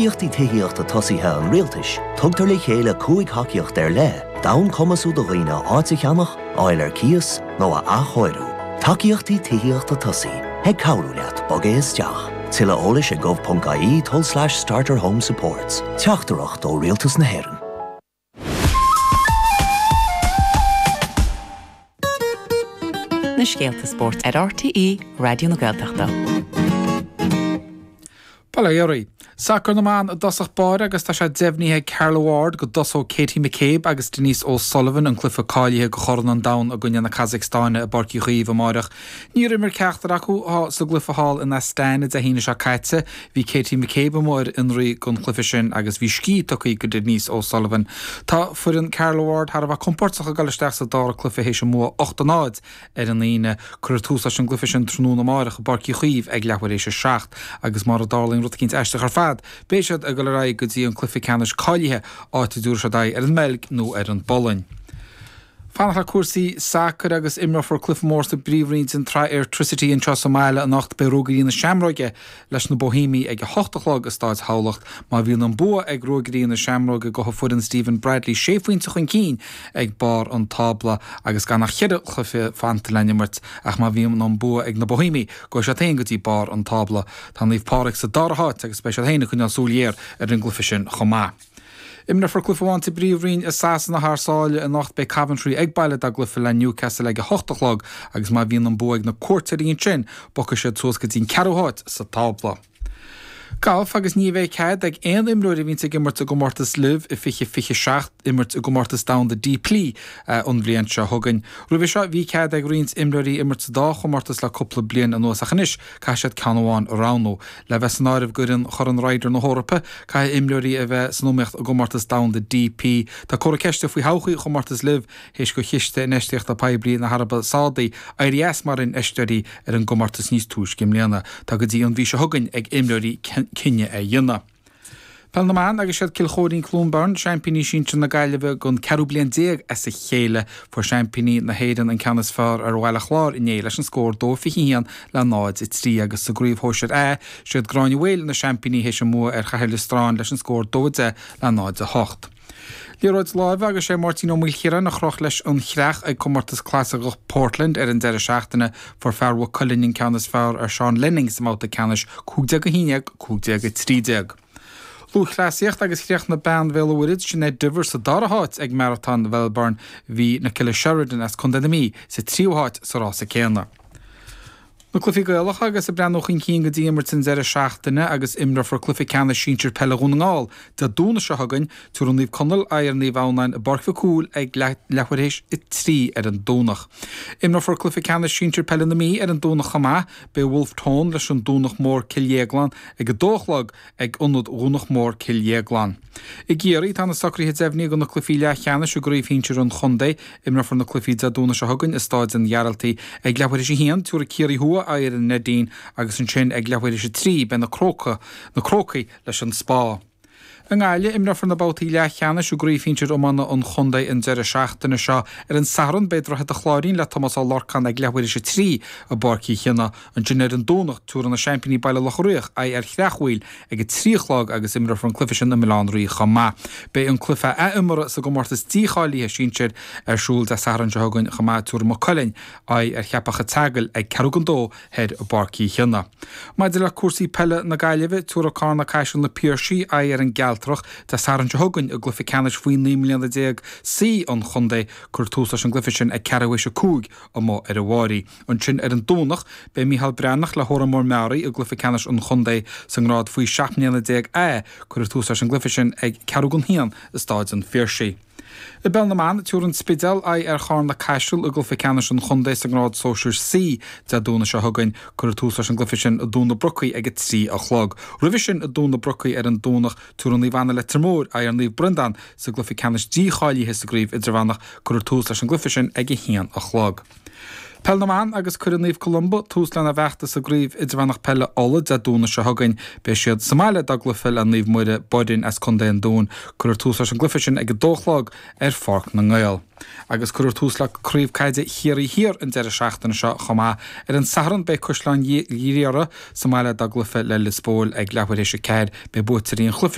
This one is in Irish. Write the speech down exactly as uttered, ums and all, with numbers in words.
Tacaíochtaí Tithíochta Tosaithe an Rialtais, tugtar le chéile cúig thacaíocht ar leith, d'fhonn cumasú do dhaoine áit a cheannach, fháil ar cíos nó a athchóiriú. Tacaíochtaí Tithíochta Tosaithe, ag cabhrú leat bogadh isteach. Tuilleadh eolais ag gov.ie tulslais starter home supports. Teachtaireacht ó Rialtas na hÉireann. Na scéalta spóirt ar RTÉ Raidió na Gaeltachta. Bail ó Dhia oraibh. Sacar na mban i dtosach báire agus tá sé deimhnithe ag Carla Ward go dtosóidh Katie McCabe agus Denise O'Sullivan an cluiche cáilithe do Chorn an Domhain i gcoinne na Casacstáine i bPáirc Uí Chaoimh amáireach. Níor imir ceachtar acu sa gcluiche thall in Astana Dé hAoine seo caite. Bhí Katie McCabe amuigh ar fionraí don chluiche sin agus bhí scíth tugtha do Denise O'Sullivan. Tá foireann Carla Ward thar a bheith compordach ag dul isteach sa dara cluiche théis a mbua ocht a náid ar an Aoine. Cuirfear tús leis an gcluiche sin tráthnóna amáireach i bPáirc Uí Chaoimh ag leathuair éis a seacht agus mura dtarlaíonn rud eicínt aisteach ar fad, beidh siad ag dul ar aghaidh go dtí an cluiche ceannais cáilithe, áit a dtabharfaidh siad aghaidh ar an mBeilg nó ar an bPolainn. Fanacht le cúrsaí sacair agus imreofar cluiche mór sa bpríomhroinn den tsraith Airtricity anseo sa mbaile anocht. Beidh Ruagairí na Seamróige leis na Boihéamaigh ag a hocht a chlog i Stáid Thamhlacht. Má bhíonn an bua ag Ruagairí na Seamróige gabhfaidh foireann Stephen Bradley sé phointe chun cinn ag barr an tábla agus gan ach cheithre chluiche fanta le n-imirt ach má bhíonn an bua ag na Boihéamaigh gabhfaidh siad féin go dtí barr an tábla. Tá Naomh Pádraig sa dara háit agus beidh siad féin ag coinneáil súil ghéar ar an gcluiche sin chomh maith. Imreofar cluiche amháin sa bPríomhroinn i Sasana thar sáile anocht. Beidh Coventry ag baile dá gcluiche le Newcastle ag a hocht a chlog agus má bhíonn an bua ag na cuairteoirí ansin, bogfaidh siad suas go dtí an ceathrú háit sa tábla. Galf agus ní bheidh cead ag aon imreoir a bhíonns ag imirt i gcomórtas LIV i fiche fiche seacht imirt i gcomórtas domhanda DP an bhliain seo chugainn. Roimhe seo bhí cead ag roinnt imreoirí imirt sa dá chomórtas le cúpla bliain anuas ach anois caithfidh siad ceann amháin a roghnú. Le bheith san áireamh d'fhoireann Chorn Ryder na hEorpa caithfidh imreoirí a bheith san iomaíocht i gcomórtas domhanda DP. Tá comhartha ceiste faoi thodhchaí chomórtas LIV théis do Chiste Infheistíochta Poiblí na hAraibe Sádaí éirí as mar infheisteoirí ar an gcomórtas níos túisce i mbliana. Tá go dtí an mhí seo chugainn ag imreoirí cinneadh a dhéanamh. Peil na mBan agus siad Cill Chóirín Cluain Bheirn seaimpíní sinsir na Gaillimhe don ceathrú bliain déag as a chéile. Fuair seaimpíní na hÉireann an ceann is fearr ar Bhaile Chláir inné leis an scór dó fiche a haon le náid a trí agus sa gcraobh shóisir A, siad Gráinne Mhaol na seaimpíní théis a mbua ar Chathair Loistreáin leis an scór dó a deich le náid a hocht. Liathróid láimhe agus sé Máirtín Ó Maoilchiaráin a chroch leis an chreach ag Comórtas Clasaiceach Portland ar an deireadh seachtaine. Fuair fear Mhaigh Cuilinn an ceann is fearr ar Seán Lenning sa mbabhta ceannais, cúig déag a haon déag, cúig déag a trí déag. Lúthchleasaíocht agus chríochnaigh bean Bhéal an Mhuirthead, Sinéad Diver, sa dara háit ag Maratón Mhelbourne. Bhí Nicola Sheridan as Contae na Mí sa tríú háit sa rása céanna. Na cluichí Gaelacha agus ag breathnú chun cinn go dtí imirt an deireadh seachtaine agus imreofar cluiche ceannais sinsir peile Dhún na nGall Dé Domhnaigh seo chugainn. Tabharfaidh Naomh Conaill aghaidh ar Naomh Adhamhnáin i bPáirc Mhic Cumhaill ag leathuair théis a trí ar an Domhnach. Imreofar cluiche ceannais sinsir peile na Mí ar an Domhnach chomh maith. Beidh Wolfe Tone leis an Domhnach Mór Cill Dhéagláin ag a dó a chlog ag Ionad Dhomhnach Mór Cill Dhéagláin. I gCiarraí, tá na socruithe deimhnithe do na cluichí leathcheannais i gcraobh shinsir an chontae. Imreofar na cluichí Dé Domhnaigh seo chugainn i Stáid an Ghearaltaigh. Ag leathuair théis a haon, tabharfaidh Ciarraí Thuaidh aghaidh ar an Neidín agus ansin ag leathuair théis a trí beidh na Cróca, na Crócaigh leis an Spá. I nGaillimh, imreofar na babhtaí leathcheannais i gcraobh shinsir iomána an chontae an deireadh seachtaine seo. Ar an Satharn, beidh Droichead an Chláirín le Tomás Ó Lorcáin ag leathuair théis a trí i bPáirc Uí Chionnaith. Ansin ar an Domhnach, tabharfaidh na seaimpíní Baile Locha Riach aghaidh ar Shreach Mhaoil ag a trí a chlog agus imreofar an cluiche sin i mBaile Átha an Rí chomh maith. Beidh an cluiche athimeartha sa gcomórtas dícháilithe sinsir ar siúl Dé Sathairn seo chugainn chomh maith. Tabharfaidh Maigh Cuilinn aghaidh ar Cheapach an tSeagail ag ceathrú don dó thoir i bPáirc Uí Chionnaith. Maidir le cúrsaí peile na Gaillimhe, tabharfaidh Carna Caiseal Na Piarsaigh aghaidh ar an gCealtrach Dé Sathairn seo chugainn i gcluiche ceannais faoi naoi mbliana déag C an chontae. Cuirfear tús leis an gcluiche sin ag ceathrú théis a cúig amuigh ar an bhFáirí. Ansin ar an Domhnach, beidh Micheál Breathnach le hÓran Mór Meáraí i gcluiche ceannais an chontae sa ngrád faoi seacht mbliana déag A. Cuirfear tús leis an gcluiche sin ag ceathrú don haon i Stáid an Phiarsaigh. I bPeil na mBan, tabharfaidh an Spidéal aghaidh ar Charna Caiseal i gcluiche ceannais an chontae sa ngrád sóisir C Dé Domhnaigh seo chugainn. Cuirfear tús leis an gcluiche sin i dTóin na Brocaí ag a trí a chlog. Roimhe sin i dTóin na Brocaí ar an Domhnach, tabharfaidh Naomh Anna Leitir Móir aghaidh ar Naomh Breandán sa gcluiche ceannais dícháilithe sa gcraobh idirmheánach. Cuirfear tús leis an gcluiche sin ag a haon a chlog. Peil na mban agus cuirfidh Naomh Columba tús lena bhfeachtas i gCraobh Idirmheánach Peile Uladh Dé Domhnaigh seo chugainn. Beidh siad sa mbaile dá gcluiche le Naomh Muire Boirinn as Contae an Dúin. Cuirfear tús leis an gcluiche sin ag a dó a chlog ar Pháirc na nGael. Agus cuirfear tús le Craobh Caide Chiarraí Thiar an deireadh seachtaine seo chomh maith. Ar an Satharn beidh Caisleán Ghriaire sa mbaile dá gcluiche le Lios Póil ag leathuair théis a ceathair. Beidh buaiteoirí an chluiche